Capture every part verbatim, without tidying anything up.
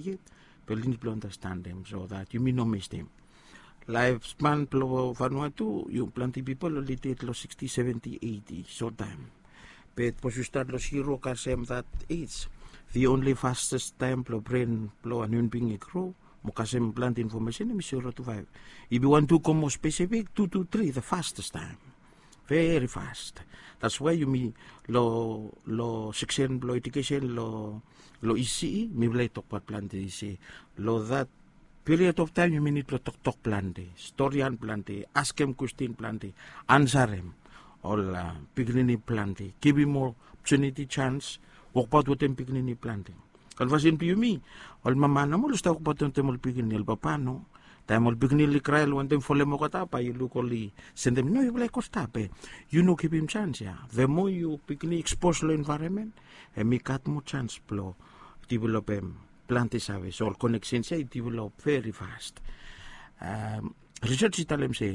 yet, be oli nid blong andastandim so that yumi no mistim. Laef span blong Vanuatu, yu planti pipol oli ded long sixty, seventy, eighty sot taem. Be sapos yu stat long zero kasem that age, the only fastest taem blong bren blong wan hiuman bing i gro mo kasem planti infomesen hem i zero to five. If yu want to go more specific, two to three the fastest taem. Very fast. That's why yumi long, long seksen blong edukesen long, long E C E mifala i tokbaot planti se long that period of taem yumi nid blong toktok planti, storian planti, askem kwestin planti, ansarem ol pikinini planti, givim ol opotuniti, jans, wokbaot wetem pikinini planti. Ol fasin blong yumi, ol mama nomo oli stap wokbaot wetem ol pikinini, ol papa no. Taem ol pikinini oli krae oli wantem folem olgeta, bae yu luk oli sendem, no, yufala i go stap, be yu no givim jans ya. The more yu pikinini ekspos long envaeronmen, hem i gat moa jans blong developem planti save. So ol koneksens ya i develop very fast. Risej i talem se,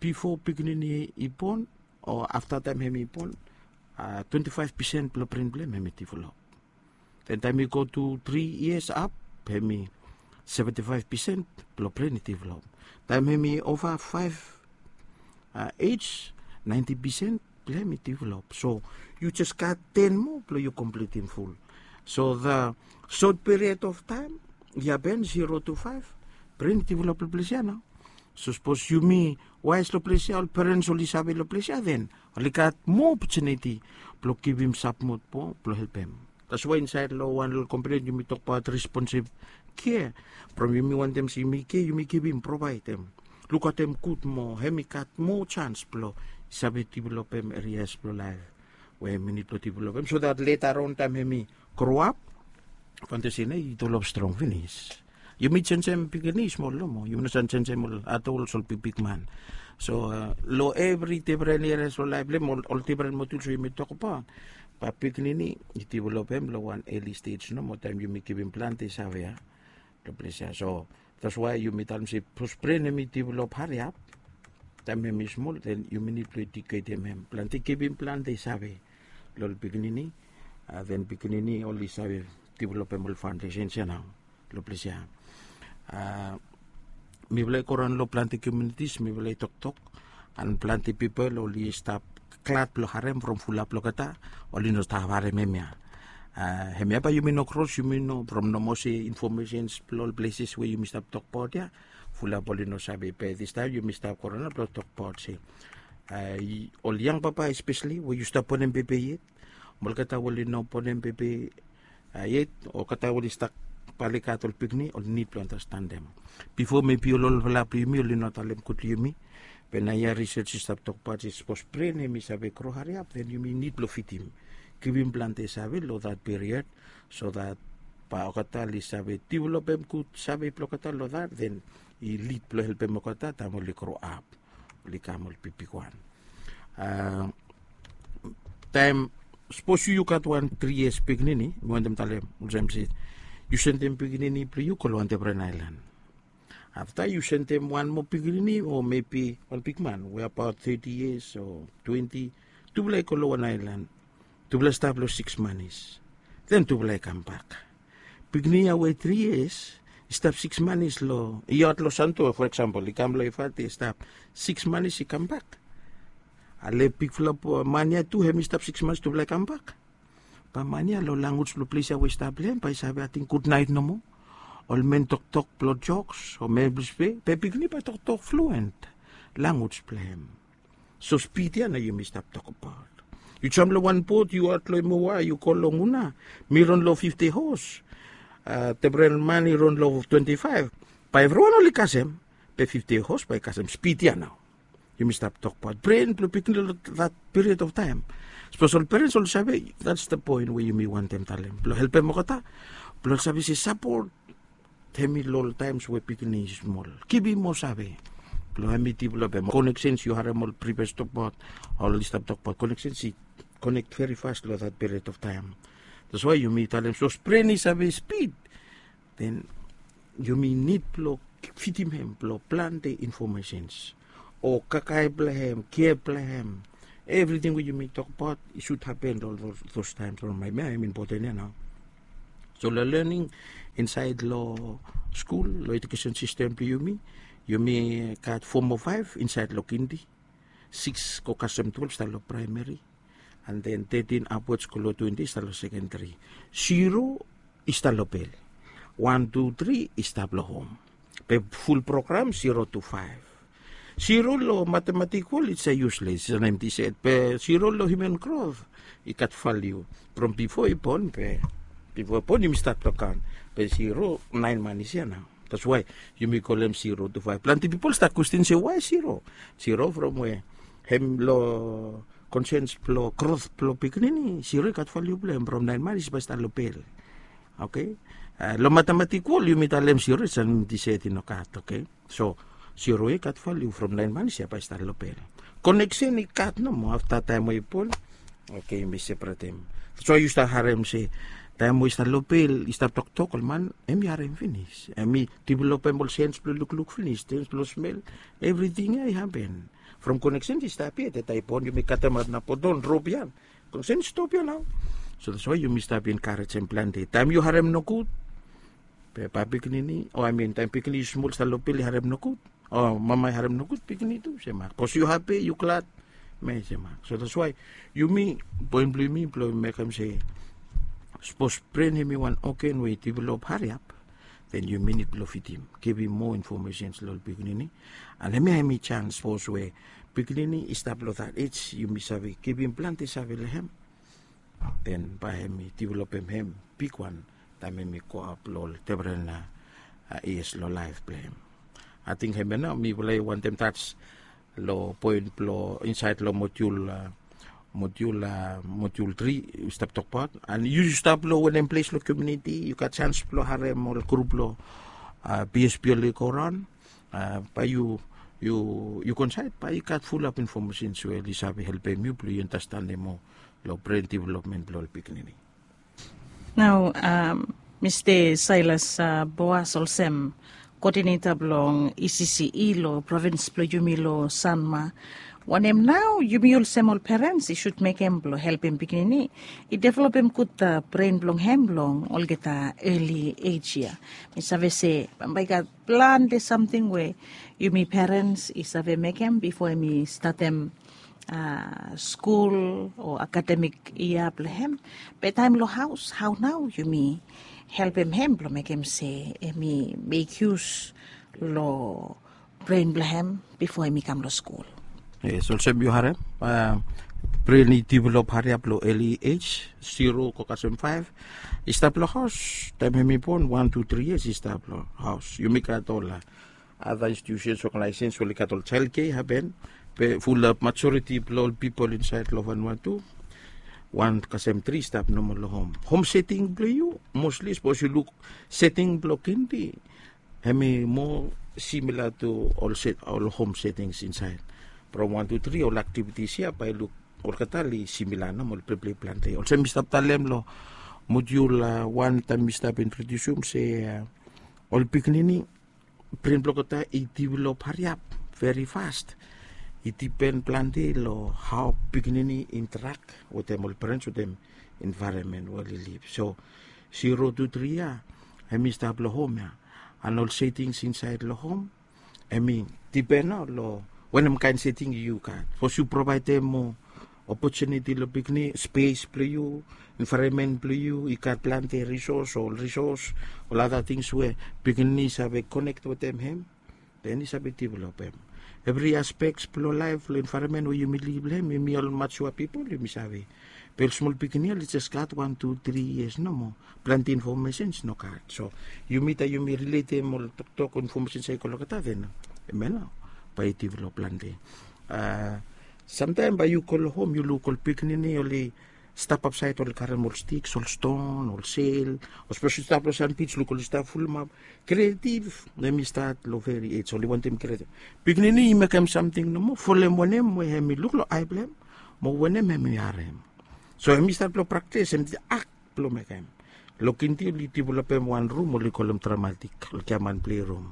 bifo pikinini i bon o afta taem hem i bon, twenti faef pesen blong bren blong hem hem i develop. Den taem i go tu tri yias ap, hem i seventi faef pesen blong bren i develop. Taem hem i ova faef ej, naenti pesen blong hem i develop. So yu jes gat ten moa blong yu komplitim ful. So the short period of time, i hapen zero to five, bren i develop long ples ya nao. So sapos yumi waes long ples ya, ol perens oli save long ples ya, den oli gat moa opotuniti blong givim sapot moa blong helpem. That's why insaed long wan long komponen yumi tokbaot responsive care. From yumi wantem se yumi care, yumi givim, provaedem, lukaotem gud moa, hem i gat moa jans blong save developem erias blong laef we hem i nid blong developem, so that leta raon taem hem i groap, faoundesen ya i develop strong finis. Yumi jenjem pikinini smol nomo, yumi no save jenjem ol adols, ol bigbigman. So long evri difren erias blong laef blong hem, ol difren modul we yumi tokbaot, bae pikinini i developem long wan eli stej nomo taem yumi givim planti save ya long ples ya. So that's why yumi talem se sapos bren hem i develop hariap taem hem i smol, den yumi nid blong ediketem hem planti, givim planti save long ol pikinini. Den pikinini oli save developem ol faondesens ya nao long ples ya. Mifala i goraon long planti komiunitis, mifala i toktok, and planti pipol oli stap glad blong harem from fulap blong olgeta oli no stap harem hemia. Hemia bae yumi no kros, yumi no, from nomo se infomesens blong ol pleses we yumi stap tokbaot ya, fulap oli no save, be distaem yumi stap goraon blong tokbaot se ol yang papa espeseli we yu stap bonem bebe yet, mo olgeta we oli no bonem bebe yet, olgeta we oli stap bae oli gat ol pikinini, oli nid blong andastandim. Bifo mebi ol olfala blong yumi oli no talem gud long yumi, be naoia risej i stap tokbaot se sapos bren hem i save gro hariap, den yumi nid blong fidim, givim planti save long that period, so that bae olgeta oli save developem gud save blong olgeta long that, den i lid blong helpem olgeta taem oli groap, oli kam ol bigbigwan. Taem sapos yu, yu gat wan tri yias pikinini, mi wantem talem olsem se yu sendem pikinini blong yu go long wan difren aelan. Afta yu sendem wan moa pikinini o mebi wan bigman we abaot teti yias o twenti, tufala i go long wan aelan. Tufala i stap long siks manis. Den tufala i kambak. Pikinini ya we tri yias i stap siks manis long, i aot long Sande, for example, i kam long Efate, i stap siks manis, i kambak. Ale bigfala man ya tu, hem i stap siks manis, tufala i kambak. Bae man ya long lanwis blong ples ya we i stap long hem, bae i save ating gudnaet nomo. Ol men toktok blong joks o men blong spe, be pikinini bae toktok fluen lanwis blong hem. So spid ya nao yumi stap tokbaot. Yu jam long wan bot, yu aot long Emoa, yu go long Una, mi ron long fifti hos, difren man i ron long twenti faef, bae evriwan oli kasem, be fifti hos bae i kasem. Spid ya nao yumi stap tokbaot bren blong pikinini long that period of taem. Sapos ol perens oli save, that's the point we yumi wantem talem, blong helpem olgeta blong save se sapot hem i long ol taems we pikinini i smol. Givim moa save blong hem i developem. Koneksens, yu harem ol privias tokbaot, oli stap tokbaot koneksens i konek veri fas long that period of taem. That's why yumi talem sapos bren i save spid, den yumi nid blong fidim hem blong plante infomesens o kakae blong hem, kea blong hem. Evriting we yumi tokbaot i sud hapen long those taems. Long maet ya, hem i impoten ya nao. So long lening, Insaed long skul, long ejukesen sistem blong yumi, yumi gat fo mo faef insaed long kindi, sikis go kasem twelef i stap long praemeri, an den tetin apwats go long twenti i stap long sekenderi. Siro i stap long pel. Wan, tu, tri i stap long hom. Be ful program siro tu faef. Siro long matematikol i se yusles, i se nem diset. Be siro long hiuman grot i gat valiu. From bifo i bon, be bifo i bon yumi stat long kaon. Be siro naen manis ya nao. That's why yumi kolem siro tu faef. Plante pipol stat kwestin se wae siro. Siro from we hem long konsens blong grot blong pikinini, siro i gat valiu blong hem from naen manis bae i stat long pel. Oke. Long matematikol yumi talem siro i se nem diset i no gat, oke. So siro i gat valiu from naen manis ya bae i stat long pel. Koneksen i gat nomo afta taem we i bon. Oke, yumi separatem. That's why yu stap harem se taem we i stap long pel i stap toktok, ol man hem i harem finis, hem i developem ol sens blong lukluk finis, sens blong smel. Evriting ya i hapen from koneksen i stap ya. Teta i bon yumi katem ap na poton rop ya. Koneksen i stop ya nao. So that's why yumi stap enkarejem plante. Taem yu harem nogud, be bae pikinini, o amin taem pikinini smol i stap long pel i harem nogud, o mama i harem nogud, pikinini tu semak. Bikos yu hapi, yu glad, hem i semak. So that's why yumi, poen blong yumi blong mekem se sapos bren hem i wan ogen we i develop hariap, den yumi nid blong fidim, givim moa infomesens long ol pikinini. An hemia hem i jans sapos we pikinini i stap long that ej, yumi save givim plante save long hem. Den bae hem i developem hem bigwan taem hem i go ap long ol defren, a, ies long laef blong hem. Ating hemia nao mifala i wantem tas long poen blong insaed long modyul, a, modyul, a, modyul tri yu stap tokbaot. An yu stap long wanem ples long komuniti yu gat jans blong harem ol grup blong, a, BSP oli go raon, a, bae yu, yu, yu go insaed bae i gat fulap infomesens we oli save helpem yu blong yu andastanem moa long bren developmen blong ol pikinini. Nao, a, Mista Sailas, a, Boas olsem koodineta blong ECCE long provins blong yumi long Sanma, wanem nao yumi olsem ol perens i sud mekem blong helpem pikinini i developem gud, a, bren blong hem long olgeta eli ej ya? Mi save se bambae i gat plante samting we yumi perens i save mekem bifo hem i statem, a, skul o akademik yia blong hem. Be taem long haos, hao nao yumi helpem hem blong mekem se hem i mekyus long bren blong hem bifo hem i kam long skul? Yes, olsem yu harem, a, bren i develop hariap long eli ej, siro go kasem faef, i stap long haos. Taem hem i bon, wan, tu, tri yias i stap long haos. Yumi gat ol, a, ada institusens, oganaesens we oli gat ol jael kea i hapen. Be fulap majoriti blong ol pipol insaed long Vanuatu, wan kasem tri i stap nomo long hom. Hom seting blong yu, mosli sapos yu luk seting blong kindi, hem i moa simila tu ol set, ol hom setings insaed. From wan, tu, tri ol aktivitis ya bae yu luk olgeta oli simila nomo, oli pleplei plante. Olsem mi stap talem long modyul, a, wan taem mi stap introdiusum se, a, ol pikinini bren blong olgeta i develop hariap veri fas. I dipen plante long hao pikinini interak wetem ol perens, wetem envaeronmen we oli liv. So siro, tu, tri ya hem i stap long hom ya. An ol setings insaed long hom hem i dipen nao long wanem kaen seting yu gat. Sapos yu provaedem moa opotuniti long pikinini, spes blong yu, envaeronmen blong yu i gat plante risos, ol risos, ol ada tings we pikinini i save konek wetem hem, den i save developem evri aspek blong laef, long envaeronmen we yumi liv long hem. Yumi ol majua pipol yumi save, be ol smol pikinini ya oli jes gat wan, tu, tri yias nomo. Plante infomesens no gat. So yumi, taem yumi riletem ol toktok, infomesens ya i go long olgeta, den hemia nao bae i develop plante. A, samtaem bae yu go long hom yu luk ol pikinini oli stap apsaed, oli karem ol stiks, ol ston, ol sel. O sapos yu stap long sanbij, luk oli stap fulumap. Kreativ hem i stat long veri ej, oli wantem kreativ. Pikinini i mekem samting nomo folem wanem we hem i luk long ae blong hem mo wanem hem i harem. So hem i stat long praktis, hem i akt blong mekem. Long kindi oli developem wan rum oli kolem dramatik, oli giaman pleirum.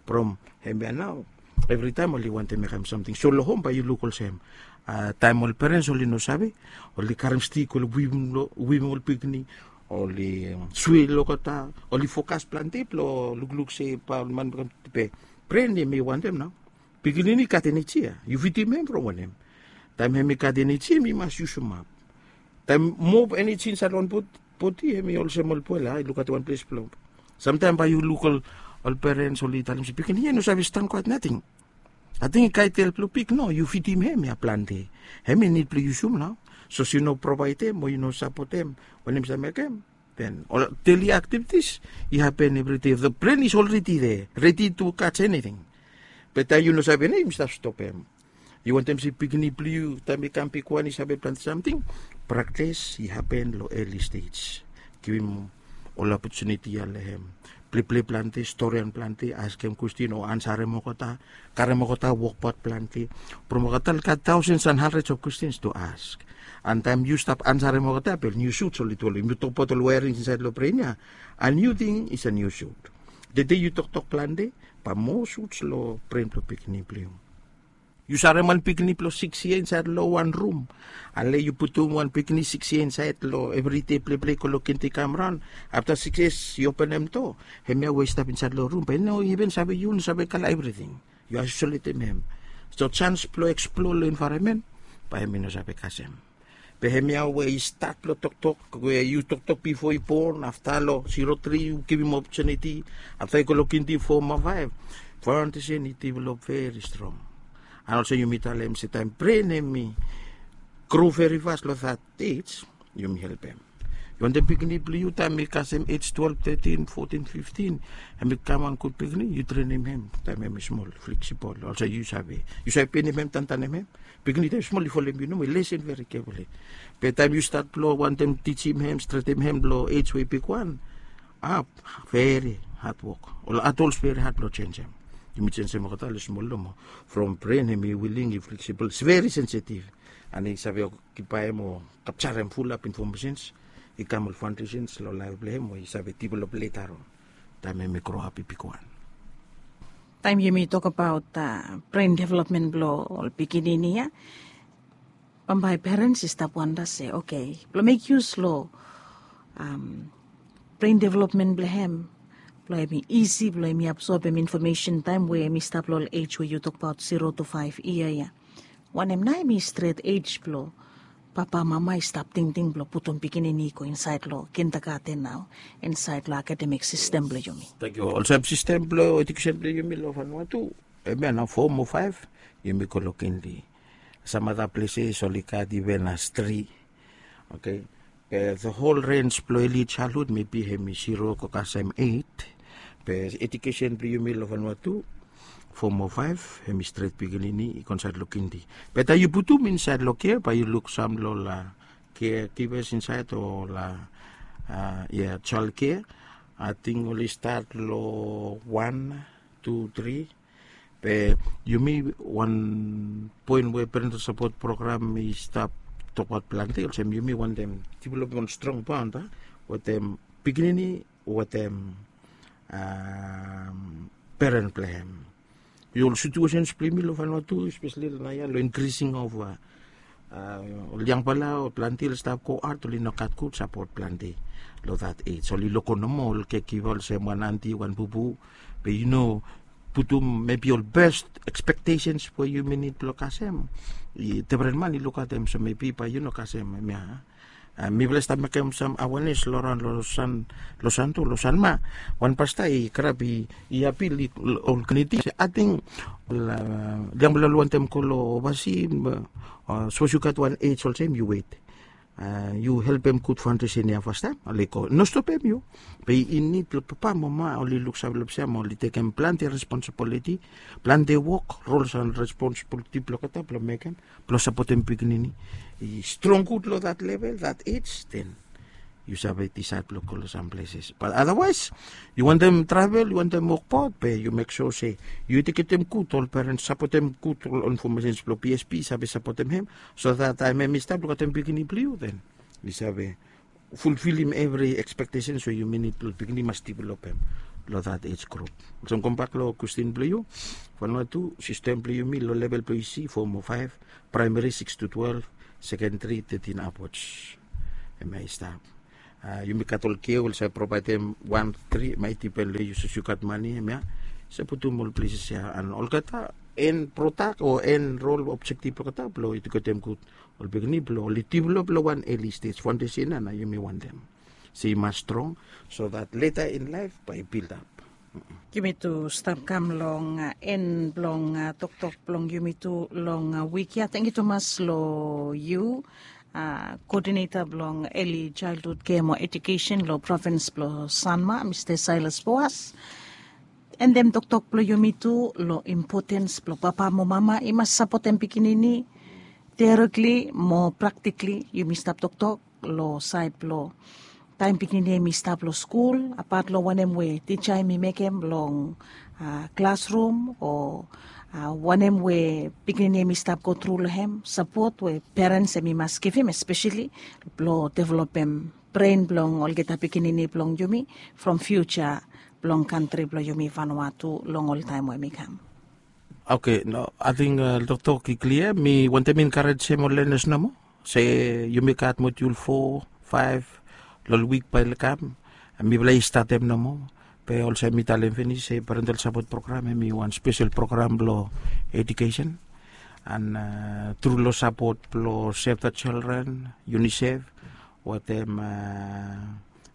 From hemia nao evritaem oli wantem mekem samting. So long hom bae yu luk olsem, a, taem ol perens oli no save, oli karem stik, oli wim, wim ol pikinini, oli swil olgeta, oli fokas plante blong lukluk se bae ol man i kam. Be bren hemi wantem nao pikinini i gat eneji ya, yu fidim hem from wanem? Taem hemi gat eneji hemi mas yusum ap. Taem moa eneji insaed long bodi hemi olsem ol boel ya i lukaot wan ples blong. Samtaem bae yu luk ol perens oli talem se pikinini ya i no save stankoat nating. Ating i kae tel blong pik no, yu fidim hem ya plante. Hem i nid blong yusum nao. Sapos yu no provaedem o yu no sapotem, wanem i save mekem? Den ol deli aktivitis i hapen evri dei. The brain is already there, ready to catch anything. Be taem yu no save nao yumi stap stopem. Yu wantem se pikinini blong yu taem i kam bigwan i save plante samting. Praktis i hapen long eli stej. Givim ol opotuniti ya long hem. Pleplei plante, storian plante, askem kwestin o ansarem olgeta, karem olgeta wokbaot plante. From olgeta oli gat taosens and handreds of kwestins tu as. And taem yu stap ansarem olgeta be ol niu suts oli tu oli, yumi tokbaot ol waerings insaed long bren ya. A niu ting is a niu sut. Tede yu toktok plante, bae moa suts long bren blong pikinini blong yu. Yu sarem wan pikinini blong sikis yia insaed long wan rum. Ale yu putum wan pikinini sikis yia insaed long evri dei pleplei, go long kindi, kam raon. Afta sikis yia yu openem doa, hemia we i stap insaed long rum bae i no iven save, yu no save kala evriting. Yu aisoletem hem. So jans blong eksploa long envaeronmen bae hem i no save kasem. Be hemia we i stat blong toktok we yu toktok bifo i bon, afta long zero three yu givim opotuniti, afta i go long kindi, fo mo faef, faondesen i develop veri strong. And olsem yumi talem se taem bren hemi gro veri fas long that ej, yumi helpem. Yu wantem pikinini blong yu taem i kasem ej twelve, thirteen, fourteen, fifteen, hem i kam wan gud pikinini, yu trenem hem taem hem i smol, fleksibol, olsem yu save, yu save penem hem, tantanem hem. Pikinini taem i smol i folem yu nomo, i lesen veri kefuli. Be taem yu stat blong wantem tijim hem, stretem hem long ej we i bigwan, a veri had wok. Ol adols veri had blong jenjem. Yumi jenjem olgeta long smol nomo. From bren hemi wiling, i fleksibol, i veri sensitiv. And i save okipaem o kapjarem fulap infomesens i kam ol faondesens long laef blong hem we i save develop leta on taem hemi groap i bigwan. Taem yumi tokbaot bren developmen blong ol pikinini ya, bambae perens i stap wanda se, oke, blong mek yus long bren developmen blong hem, blong hem i isi blong hem i absobem infomesen taem we hem i stap long ol ej we yu tokbaot, zero to five yia ya. Wanem nao hemi stret ej blong papa mama i stap tingting blong putum pikinini i go insaed long kindagaten nao, insaed long akademik sistem blong yumi? Tenkyu. Olsem sistem blong ejukesen blong yumi long Vanuatu, hemia nao fo mo faef yumi go long kindi. Sam ada pleses oli gat iven as tri. Oke. Be the whole range blong eli jaldhud mebi hemi zero go kasem eit. Be ejukesen blong yumi long Vanuatu, fo mo faef hemi stret pikinini i go insaed long kindi. Be taem yu putum insaed long kea bae yu luk sam long ol kea givas insaed o ol, ia, jaldkea. Ating oli stat long wan, tu, tri. Be yumi wan poen we Parental Support Program i stap tokbaot plante, olsem yumi wantem developem wan strong bond wetem pikinini wetem peren blong hem. Ol situesens blong yumi long Vanuatu, espeseli long naoia long increasing of ol yangfala, ol plante oli stap go aot, oli no gat gud sapot plante long that ej. Oli loko nomo ol caregiver olsem wan anti, wan bubu, be yu no putum mebi ol best expectations we yumi nid blong kasem. Defren man i lukaotem, so mebi bae yu no kasem hemia. Mifala i stap mekem sam awenes long raon long Santo, long Sanma. Wan pasta i grab, i apil, ol kliniti se ating ol yangfala oli wantem go long ovasi, sapos yu gat wan ej olsem, yu wet. Yu helpem gud faondesen ya fastaem, oli go, no stopem yu. Be i nid blong papa mo mama oli luksave long ples ya mo oli tekem plante responsibiliti, plante wok, rols and responsibiliti blong olgeta blong mekem, blong sapotem pikinini i strong gud long that level, that age, then yu save disaed blong go long sam pleses. But otherwise, yu wantem travel, yu wantem wokbaot, be yu mek sua se yu ejuketem gud ol perens, sapotem gud ol infomesens blong P S P, save sapotem hem, so that taem hem i stap lukaotem pikinini blong yu, then yu save fulfilim evri expectations we yumi nid blong pikinini mas developem long that age group. Olsem, kambak long kwestin blong yu, Vanuatu, sistem blong yumi long level blong isi, fo mo faef, praemeri six to twelve, sekenderi thirteen upwards. Hemia i stap. Yumi gat ol ke ol save provaedem wan tri maiti pen long yu sapos yu gat mane em ya. Save putum ol pleses ya an olgeta en prodak o en rol objektif blong olgeta blong ejuketem gud ol pikinini blong oli develop long wan eli stej faundesen ya na yumi wantem se i mas strong, so that later in life bae i build up. Yumi tu stap kam long en blong toktok blong yumi tu long wik ya. Tengiu tumas long yu, koodineta blong eli jaelhud kea mo ejukesen long provins blong Sanma, Mista Sailas Boas. Endem toktok blong yumi tu long impotens blong papa mo mama i mas sapotem pikinini. Teoretikli mo praktikli yumi stap toktok long saed blong taem pikinini em i stap long skul, apat long wanem we tija em i mekem long klasrum o wanem we pikinini em i stap gotru long hem, sapot we perens em i mas givim espeseli blong developem bren blong olgeta pikinini blong yumi from fiuja blong kantri blong yumi Vanuatu long ol taem we em i kam. Oke, no, ating toktok i klia. Mi wantem enkarejem ol lenas nomo se yumi gat modiul fo, faef long ol wik bae oli kam. Mifala i statem nomo. Be olsem mi talem finis se parental sapot program em i wan spesel program blong ejukesen an tru long sapot blong Save the Children, UNICEF wetem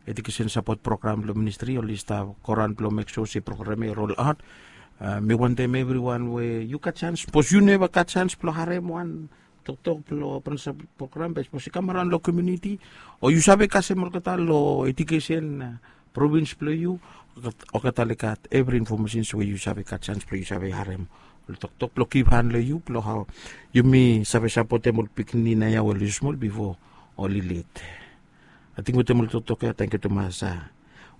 ejukesen sapot program blong ministri oli stap goraon blong mek sua se program ya i rol aot. Mi wantem evriwan we yu gat sans, sapos yu neva gat sans blong harem wan toktok blong parental sapot program be sapos i kam araon long komuniti o yu save kasem olgeta long ejukesen provins blong yu, olgeta oli gat evri infomesens we yu save gat sans blong yu save harem ol toktok blong givhan long yu blong hao yumi save sapotem ol pikinini naoia we oli smol bifo oli led. Ating wetem ol toktok ya, tengiu tumas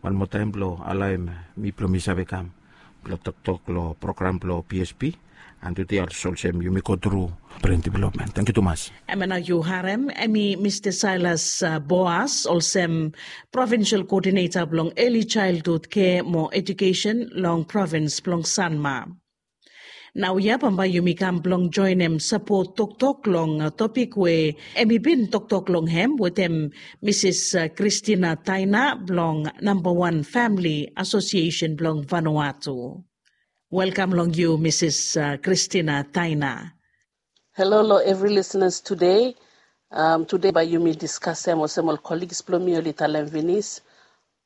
wan moa taem blong alaem mi blong mi save kam blong toktok long program blong PSP. An tude olsem yumi gotru bren developmen. Tengiu tumas. Em ya nao yu harem em i Mista Sailas Boas olsem provinsel koodineta blong eli jaelhud kea mo ejukesen long provins blong Sanma. Naoia bambae yumi kam blong joenem sapot toktok long topik we em i bin toktok long hem wetem Misis Kristina Taina blong Nambawan Famili Asosiesen blong Vanuatu. Welkam long yu Misis Kristina Taina. Halo long evri lisenas tude. Tude bae yumi diskasem olsem ol koligs blong mi oli talem finis,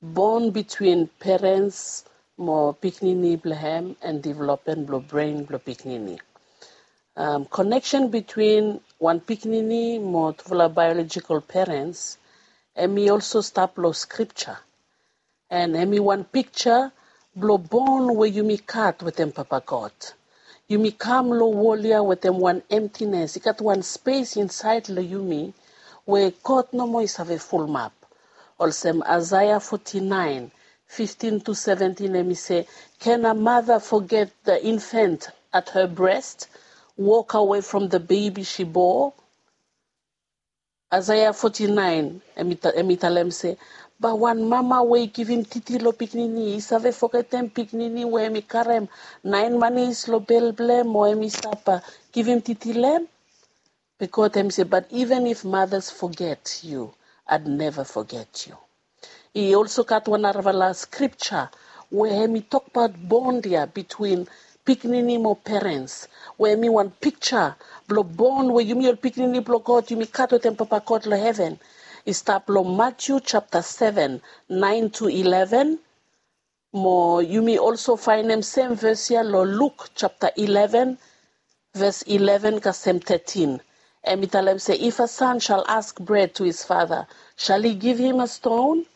bon bitwin perens mo pikinini blong hem an developmen blong bren blong pikinini. Koneksen bitwin wan pikinini mo tufala baeolojikol perens em i olso stap long skripja. An em i wan pikja blong bon we yumi gat wetem Papa God. Yumi kam long wol ya wetem wan emtines, i gat wan spes insaed long yumi we God nomo i save fulumap. Olsem Aesea foti naen, fiftin tu seventin em i se, can a mother forget the infant at her breast, walk away from the baby she bore? Aesea foti naen em i talem se, bae wan mama we i givim titi long pikinini i save fogetem pikinini we em i karem naen manis long bel blong hem o em i stap givim titi long hem? Bikos em i se, but even if mothers forget you, I'd never forget you. I olso gat wan narafala skripja we em i tokbaot bon ya bitwin pikinini mo perens, we em i wan pikja blong bon we yumi ol pikinini blong God yumi gat wetem Papa God long heven. I stap long Matiu japta seven, naen tu ileven. Mo yumi olso faenem sem ves ya long Luk japta ileven, ves ileven kasem tetin. Em i talem se, if a son shall ask bread to his father, shall he give him a stone?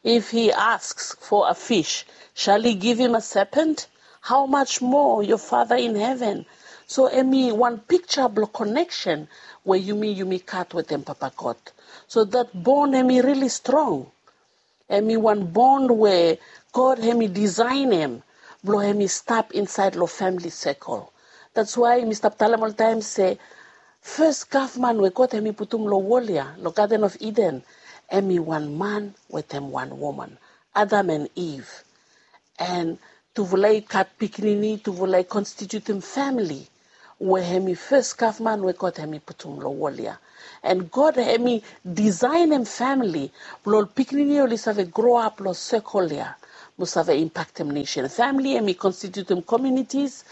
If he asks for a fish, shall he give him a serpent? How much more your Father in heaven? So em i wan pikja blong koneksen we yumi yumi gat wetem Papa God. So that bon em i rili strong. Em i wan bon we God em i disaenem blong em i stap insaed long famili sekol. That's why mi stap talem oltaem se fes gavman we God em i putum long wol ya long Gaden of Iden, em i wan man wetem wan woman, Adam and Eve. And tufala i gat pikinini, tufala i konstitutem famili. we hemi fes gavman we God hemi putum long wol ya. And God hemi disaenem famili blong ol pikinini oli save groap long sekol ya mo save impaktem nesen. Famili hemi konstitutem komunitis,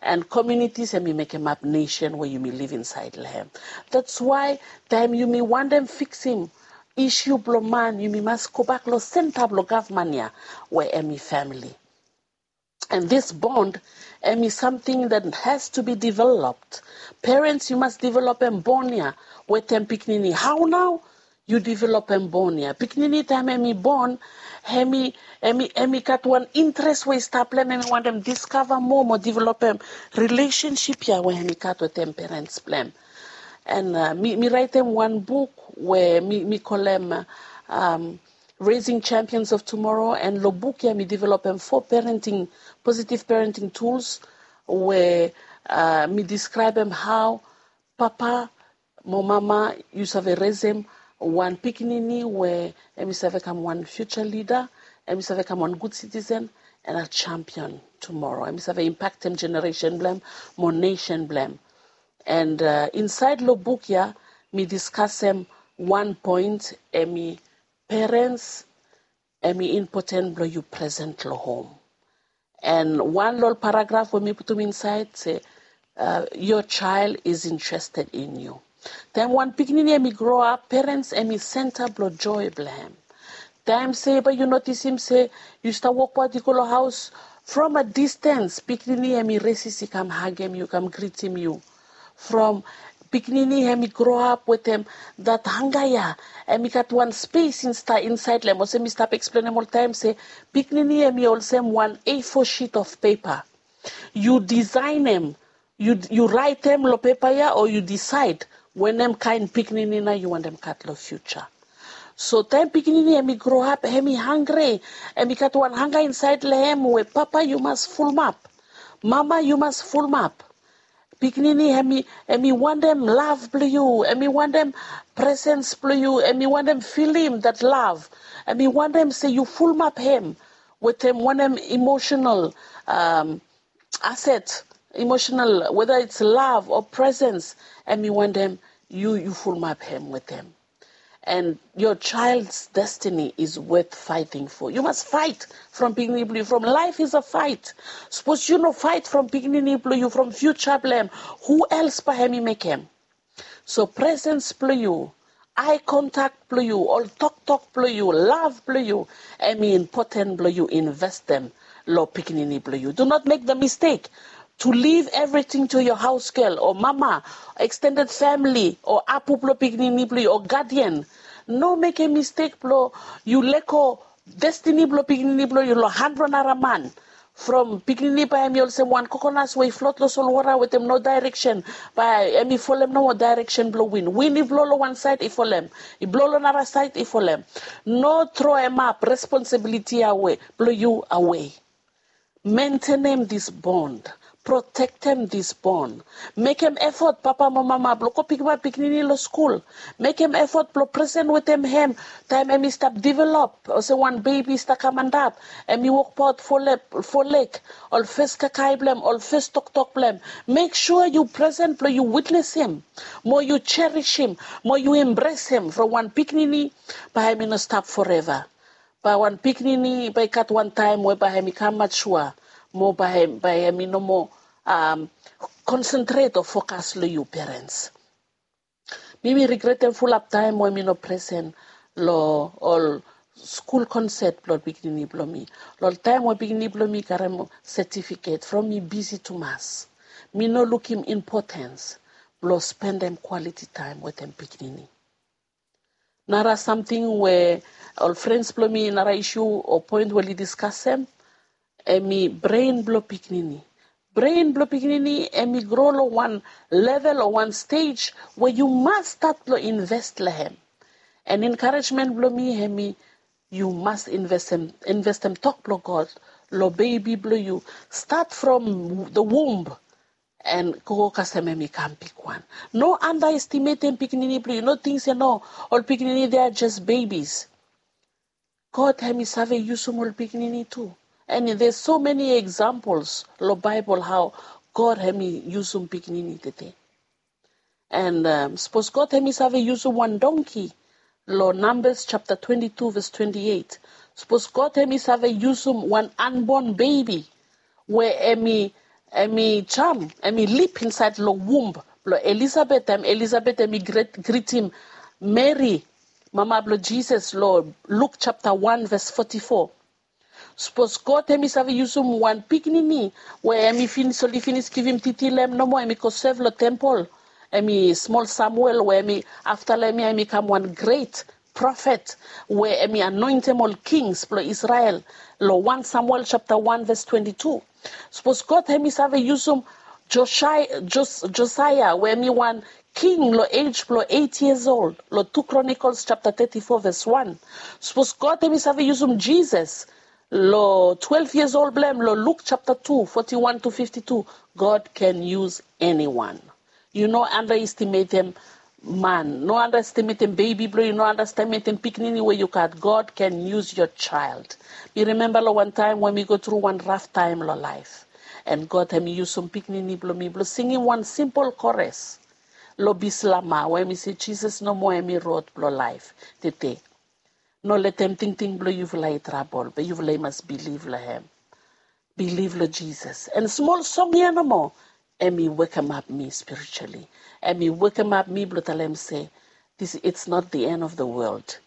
and komunitis hemi mekemap nesen we yumi liv insaed long hem. That's why taem yumi wantem fiksim isiu blong man, yumi mas gobak long senta blong gavman ya we hemi famili. And this bond hemi samting that has to be developed. Parents, yu mas developem bon ya wetem pikinini. Hao nao yu developem bon ya? Pikinini taem hemi bon, hemi hemi hemi gat wan interes we i stap long hem, hemi wantem diskava moa mo developem rilesensip ya we hemi gat wetem parents blong hem. And uh, mi, mi raetem wan buk we mi, mi kolem uh, um, Raising Champions of Tomorrow, and long buk ya mi developem fo parenting, positive parenting tools we uh, mi deskraebem hao papa mo mama yu save resem wan pikinini we hemi save kam wan future leader, hemi save kam wan good citizen, and a champion tomorrow. Hemi save impaktem generation blong hem mo nation blong hem. And uh, insaed long buk ya mi diskasem wan point, hemi parents, hemi impoten blong yu present long hom. And wan long ol paragraf we mi putum insaed se uh, your child is interested in you. Taem wan pikinini hemi groap, parents hemi senta blong joe blong hem. Taem se bae yu notisim se yu stap wokbaot i go long haos, from a distance pikinini hemi resis i kam hagem yu, kam gritim yu. From pikinini hemi groap wetem dat hanga ya, hemi gat wan spes insaed long hem. Olsem mi stap eksplenem oltaem se pikinini hemi olsem wan A four sheet of paper. Yu disaenem, yu, yu raetem long pepa ya o yu disaed wanem kaen pikinini nao yu wantem gat long future. So taem pikinini hemi groap, hemi hangre, hemi gat wan hanga insaed long hem we papa yu mas fulumap, mama yu mas fulumap. Pikinini hemi, hemi wantem lav blong yu, hemi wantem presens blong yu, hemi wantem filim dat lav, hemi wantem se yu fulumap hem wetem wanem emotional um, aset, emotional, whether it's love or presence, hemi wantem yu, yu fulumap hem wetem. And your child's destiny is worth fighting for. Yu mas faet from pikinini blong yu, from life is a fight. Sapos yu no faet from pikinini blong yu, from future blong hem, hu els bae hemi mekem? So presens blong yu, ae kontak blong yu, ol toktok blong yu, lav blong yu, hemi impoten blong yu investem long pikinini blong yu. Do not make the mistake to leave everything to your house girl o mama, extended family o apu blong pikinini blong yu o gadian. No mekem mistek blong yu lego destini blong pikinini blong yu long han blong nara man. From pikinini bae hemi olsem wan kokonas we i flot long solwota wetem no daereksen, bae hemi folem nomo daereksen blong win. Win i blo long wan saed i folem, i blo long nara saed i folem. No troemap responsibiliti ya we blong yu awe. Mentenem dis bond, protektem dis bond. Mekem efot papa mo mama blong go pikimap pikinini long skul. Mekem efot blong presen wetem hem taem hemi stap develop olsem wan bebi i stap kam antap, hemi wokbaot fo leg, ol fes kakae blong hem, ol fes toktok blong hem. Mek sua yu presen blong yu witnesim mo yu jerisim mo yu embresem from wan pikinini bae hemi no stap foreva. Bae wan pikinini bae i gat wan taem we bae hemi kam matua mo bae hemi no moa konsentret o fokas long yu perens. Mi mi rigretem fulap taem we mi no presen long ol skul konset blong ol pikinini blong mi. Long ol taem we pikinini blong mi i karem setifiket from mi bisi tumas, mi no lukim impotens blong spendem kwaliti taem wetem pikinini. Nara samting we ol frens blong mi, nara isu o poen we oli diskasem, hemi bren blong pikinini. Bren blong pikinini hemi gro long wan level o wan stej we yu mas stat blong inves long hem. And enkarejmen blong mi hemi yu mas investem investem tok blong God long bebi blong yu, stat from the womb and go kasem hemi kam bigwan. No andaestimetem pikinini blong yu. No ting se no, ol pikinini they are just babies. God hemi save yusum ol pikinini tu. And there's so many examples long Baebol hao God hemi yusum pikinini tete. And um, sapos God hemi save yusum wan donki, lo Numbers chapter twenty-two verse twenty-eight. Sapos God hemi save yusum wan unborn baby, we hemi hemi jam, hemi lip inside lo womb lo Elizabeth, taem Elizabeth hemi greetim Mary, mama blo Jesus, lo Luke chapter one verse forty-four. Sapos God hemi save yusum wan pikinini we hemi finis, oli finis givim titi lo hem nomo, hemi go sev lo tempol, hemi smol Samuel, we hemi afta lo hem ya hemi kam wan gret profet, we hemi anoentem ol kings blo Israel, lo one Samuel chapter one verse twenty-two. Sapos God hemi save yusum Josiah, Jos, Josiah, we hemi wan king lo age blo eight years old, lo two Chronicles chapter thirty-four verse one. Sapos God hemi save yusum Jesus, lo twelve years old blo hem, lo Luke chapter two, forty-one to fifty-two, God can use anyone. Yu no underestimatem man, no underestimatem baby blo yu, no underestimatem pikinini we yu gat. God can use your child. Mi remember lo wan taem we mi go tru wan raf taem lo laef, and God hemi yusum pikinini blo mi blo singim wan simpol chorus lo Bislama, we mi se, Jesus nomo hemi rod blo laef tete. No letem tingting blo yufala i trabol, be yufala i mas bilif lo hem. Bilif lo Jesus. And smol song ya nomo, hemi wekemap mi spiritually. Hemi wekemap mi blo talem se, this, it's not the end of the world.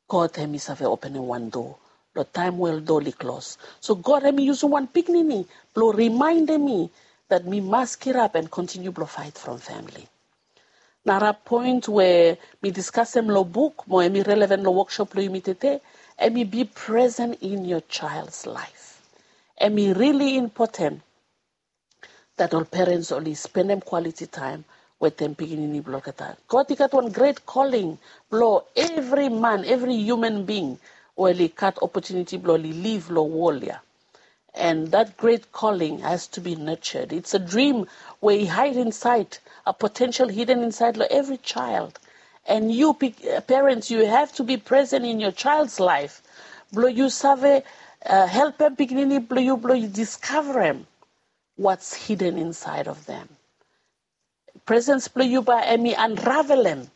God hemi save openem wan doa lo taem we ol doa oli klos. So God hemi yusum wan pikinini blo rimaendem mi that mi mas kirap and kontiniu blo faet from famili. Nara poen we mi diskasem lo buk, mo hemi relevan lo wokshop blo yumi tete, hemi be present in your child's life. Hemi rili impoten that ol perens oli spendem quality time wetem pikinini blo olgeta. God i gat wan great calling blo evri man, evri human being we oli gat opotuniti blo oli liv lo wol ya. And that great calling has to be nurtured. It's a dream we i hide inside, a potential hidden inside lo evri child. And you, parents, you have to be present in your child's life. Blo yu save uh, helpem pikinini blo yu blo yu diskavarem what's hidden inside of them. Presence blo yu bae hemi unravelem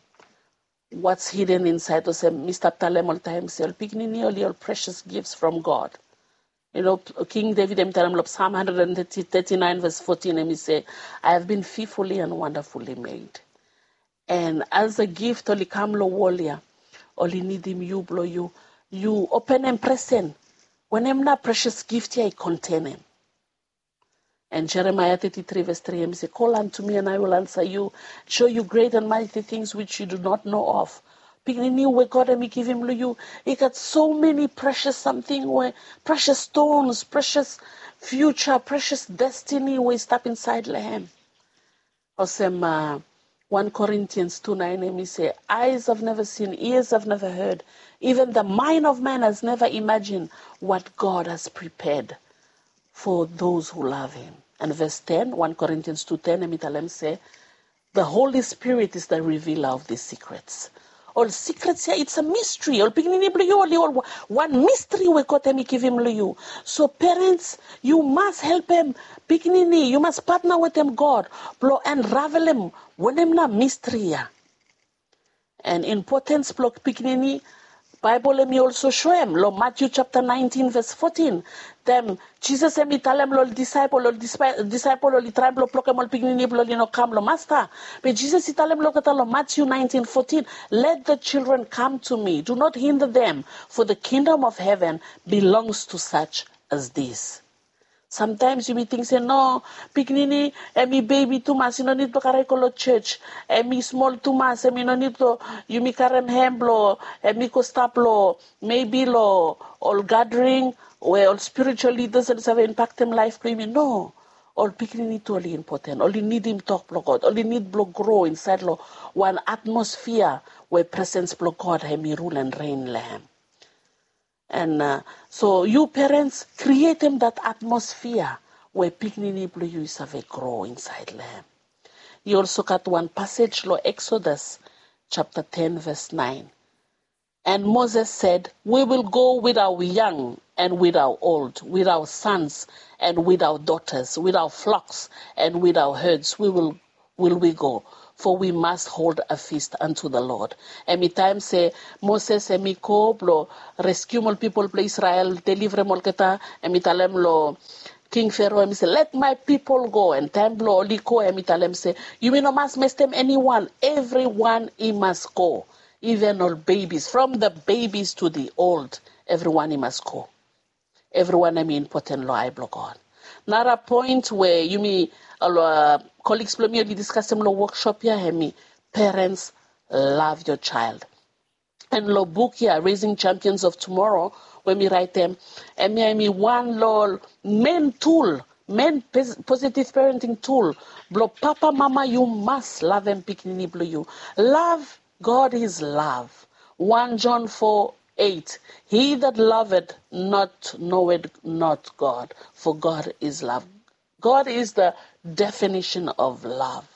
what's hidden inside. Olsem mi stap talem oltaem se ol pikinini oli ol precious gifts from God. You know, King David hemi talem lo Psalm one hundred thirty-nine verse fourteen, hemi se, I have been fearfully and wonderfully made. And as a gift oli kam lo wol ya, oli nidim yu blo yu, yu openem presen wenem na precious gift ya i kontenem. And Jeremiah thirty-three verse three, hemi se, call unto me and I will answer you, show you great and mighty things which you do not know of. Pikinini we God hemi givim lo yu, i gat so many precious samting we, precious stones, precious future, precious destiny we i stap insaed lo hem. Olsem uh, one Corinthians two nine, hemi se, eyes have never seen, ears have never heard, even the mind of man has never imagined what God has prepared for those who love him. And verse ten, one Corinthians two ten, hemi talem se, the Holy Spirit is the revealer of these secrets. Ol secrets ya, it's a mystery. Ol pikinini blo yu oli ol wan mystery we God hemi givim lo yu. So parents, yu mas helpem pikinini, yu mas patna wetem God blo unravelem wenem na mystery ya. And importance blo pikinini, Baebol hemi also show hem lo Matthew chapter nineteen verse fourteen. Taem Jesus hemi talem lo ol disaepol, ol disaepol oli traem blo blokem ol pikinini blo oli no kam lo Masta. Be Jesus i talem lo olgeta lo Matthew nineteen fourteen, let the children come to me, do not hinder them, for the kingdom of heaven belongs to such as these. Sometimes yumi ting se no, pikinini hemi bebi tumas, i no nid blo karem i go lo church. Hemi smol tumas, hemi no nid blo yumi karem hem blo hemi go stap lo, maybe lo ol gathering we ol spiritual leaders oli save impaktem laef blo yumi. No, ol pikinini tu oli impoten. Oli nidim tok blo God. Oli nid blo gro insaed lo wan atmosphere we presence blo God hemi rule and reign lo hem. And uh, so yu parents, krietem that atmosphere we pikinini blo yu i save gro insaed lo hem. I also gat wan pasej lo Exodus chapter ten verse nine. And Moses said, we will go with our young and with our old, with our sons and with our daughters, with our flocks and with our herds, we will will we go, for we must hold a feast unto the Lord. Hemi taem se Moses hemi go blo reskium ol pipol blo Israel, deliverem olgeta, hemi talem lo King Pharaoh, hemi se, let my people go. And taem blo oli go, hemi talem se, yumi no mas mestem anyone, everyone i mas go. Even ol babies, from the babies to the old, everyone i mas go. Everyone hemi impoten lo ae blo God. Nara poen we yumi, ol, uh, colleagues blo mi oli diskasem lo workshop ya, hemi parents, love your child. And lo buk ya, Raising Champions of Tomorrow, we mi raetem, hemi, hemi wan lo ol main tool, main pos-, positive parenting tool blo papa, mama, yu mas lavem pikinini blo yu. Love, God is love. One John four eight, he that loveth not knoweth not God, for God is love. God is the definition of love.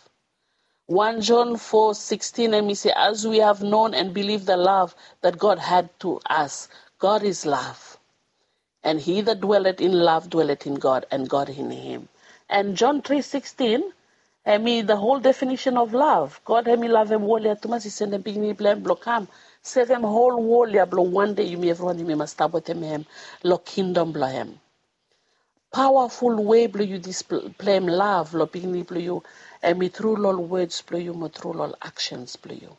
One John four sixteen, hemi se, as we have known and believed the love that God had to us. God is love. And he that dwelleth in love dwelleth in God, and God in him. And John three sixteen, hemi the whole definition of love. God hemi lavem wol ya tumas, i sendem pikinini blo hem blo kam sevem hol wol ya, blo wan dei yumi evriwan yumi mas stap wetem hem lo kingdom blo hem. Powerful way blo yu displem love lo pikinini blo yu, hemi tru lo ol words blo yu mo tru lo ol actions blo yu.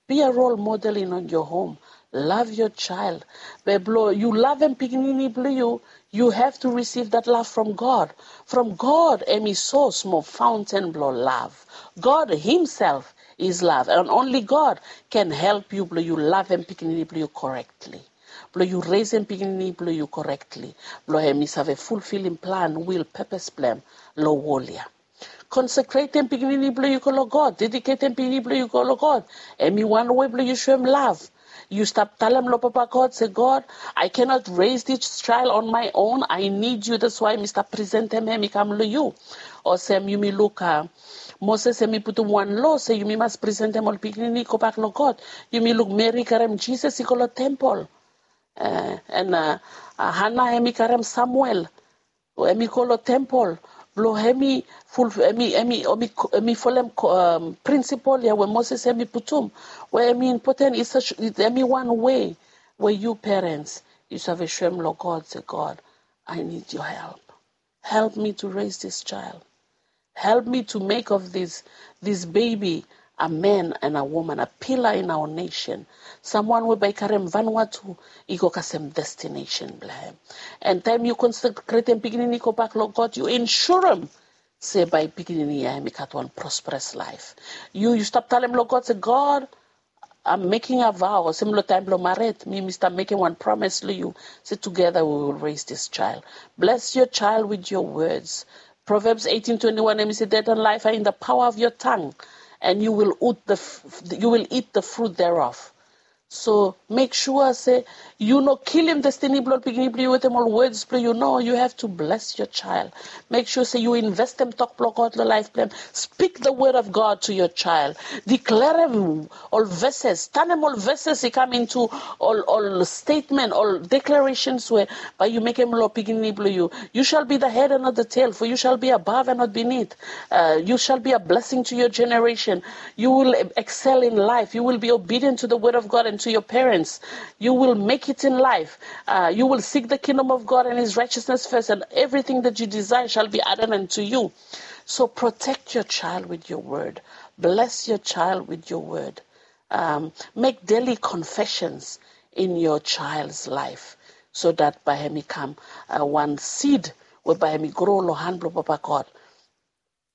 Be a role model in your home. Love your child. Be blo yu lavem pikinini blo yu, you have to receive that love from God. From God hemi source mo fountain blo love. God himself is love, and only God can help yu blo yu lavem pikinini blo yu correctly, blo yu resem pikinini blo yu correctly, blo hemi save fulfilim plan, will, purpose blo hem lo wol ya. Consecratem pikinini blo yu go lo God, dedicatem pikinini blo yu go lo God. Hemi wan way blo yu soem love. Yu stap talem lo Papa God se, God, I cannot raise this child on my own. I need you. That's why mi stap presentem hem i kam lo yu. Olsem yumi luk, uh, Moses hemi putum wan lo se yumi mas presentem ol pikinini i gobak lo God. Yumi luk Meri karem Jisas i go lo tempol. Uh, and, uh, uh, Hana hemi karem Samuel, hemi go lo tempol blo hemi ful, hemi, hemi, hemi, hemi folem, um, prinsipol ya we Moses hemi putum, we hemi impoten, i save, hemi wan way we yu parents yu save soem lo God se, God, I need your help. Help me to raise this child. Help me to make of this, this baby a man and a woman, a pillar in our nation. Someone we bae i karem Vanuatu i go kasem destination blo hem. And taem yu consecratem pikinini i gobak lo God, yu insurem se bae pikinini ya hemi gat wan prosperous life. Yu, yu stap talem lo God se, God, I'm making a vow, olsem lo taem blo mared, mi, mi stap mekem wan promise lo yu se together we will raise this child. Bless your child with your words. Proverbs eighteen twenty-one, hemi se, death and life are in the power of your tongue, and you will eat the f-, you will eat the fruit thereof. So make sure se yu no kilim destiny blo ol pikinini blo yu wetem ol words blo yu. No, you have to bless your child. Make sure se yu investem tok blo God lo laef blo hem. Speak the word of God to your child. Deklarem ol verses, tanem ol verses i kam into ol, ol statement, ol declarations we bae yu mekem lo pikinini blo yu. You shall be the head and not the tail, for you shall be above and not beneath. Uh, you shall be a blessing to your generation. You will excel in life. You will be obedient to the word of God and to your parents. You will make it in life. Uh, you will seek the kingdom of God and his righteousness first, and everything that you desire shall be added unto you. So protect your child with your word. Bless your child with your word. Um, make daily confessions in your child's life, so that bae hemi kam, uh, wan seed we bae hemi grow lo han blo Papa God,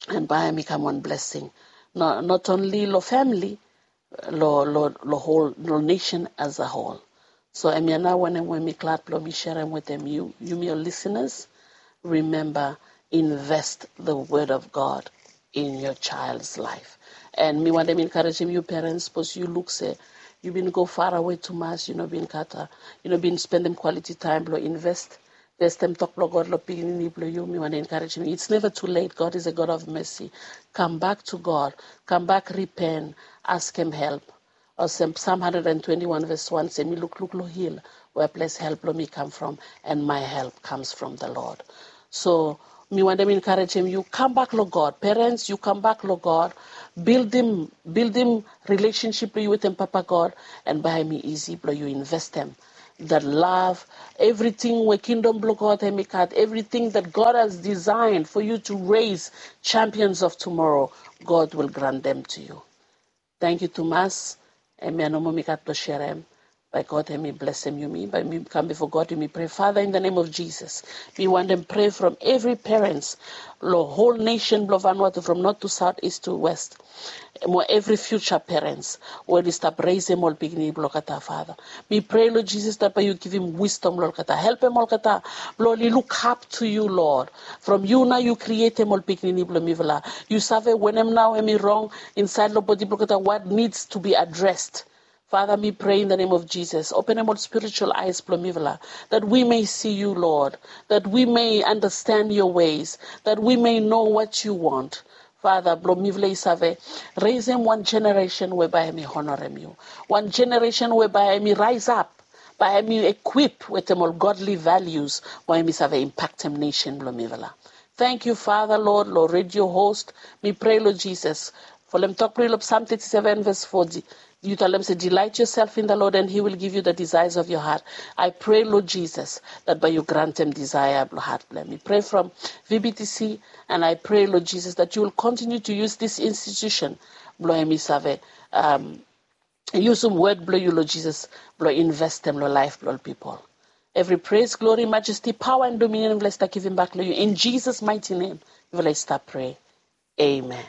and bae hemi kam wan blessing, no, not only lo family, lo, lo, lo whole, lo nation as a whole. So hemia nao wanem we mi glad blo mi serem wetem yu, yumi ol listeners. Remember, invest the word of God in your child's life. And mi wantem encouragem yu parents, sapos yu luk se yu bin go farawe tumas, yu no bin gat, yu no bin spendem quality time blo invest, investem tok blo God lo pikinini blo yu, mi wantem encouragem yu. It's never too late. God is a God of mercy. Come back to God. Come back, repent, askem help. Olsem Psalm hundred and twenty-one verse one se, mi lukluk lo hil we ples help blong mi kam from, and my help comes from the Lord. So mi wantem encourage him, you come back lo God. Parents, you come back lo God. Buildim, buildim relationship blong yu wetem Papa God, and bae hemi easy blong yu investem that love, everything we kingdom blong God hemi gat, everything that God has designed for you to raise champions of tomorrow, God will grant them to you. Thank you tumas. Hemia nomo mi gat blong serem. Bae God hemi blesem yumi, bae mi kam bifo God, yumi prea, Father, in the name of Jesus, mi wantem prea from evri parents lo whole nation blong Vanuatu, from north to south, east to west, mo evri future parents we oli stap resem ol pikinini blong olgeta, Father. Mi prea lo Jesus dat bae yu givim wisdom lo olgeta, helpem olgeta blong oli look up to you, Lord. From yu nao yu krietem ol pikinini blong mifala. Yu save wanem nao hemi rong insaed lo bodi blong olgeta, what needs to be addressed. Father, mi prea in the name of Jesus, openem ol spiritual eyes blong mifala, that we may see you, Lord, that we may understand your ways, that we may know what you want. Father, blong mifala i save resem wan generation we bae hemi honorem yu, wan generation we bae hemi rise up, bae hemi equip wetem ol godly values, we hemi save impactem nation blong mifala. Thank you, Father, Lord, lo radio host. Mi prea lo Jesus, folem tok blong yu lo Psalm thirty-seven verse four, yu talem se, delight yourself in the Lord and he will give you the desires of your heart. I pray, Lord Jesus, that bae yu grantem desire blong hat blong hem. Mi prea from V B T C, and I pray, Lord Jesus, that you will continue to use this institution blong hemi save um, yusum word blong yu, Lord Jesus, blong investem lo laef blong ol pipol. Evri praise, glory, majesty, power and dominion mifala i stap givim bak lo yu. In Jesus' mighty name mifala i stap prea. Amen.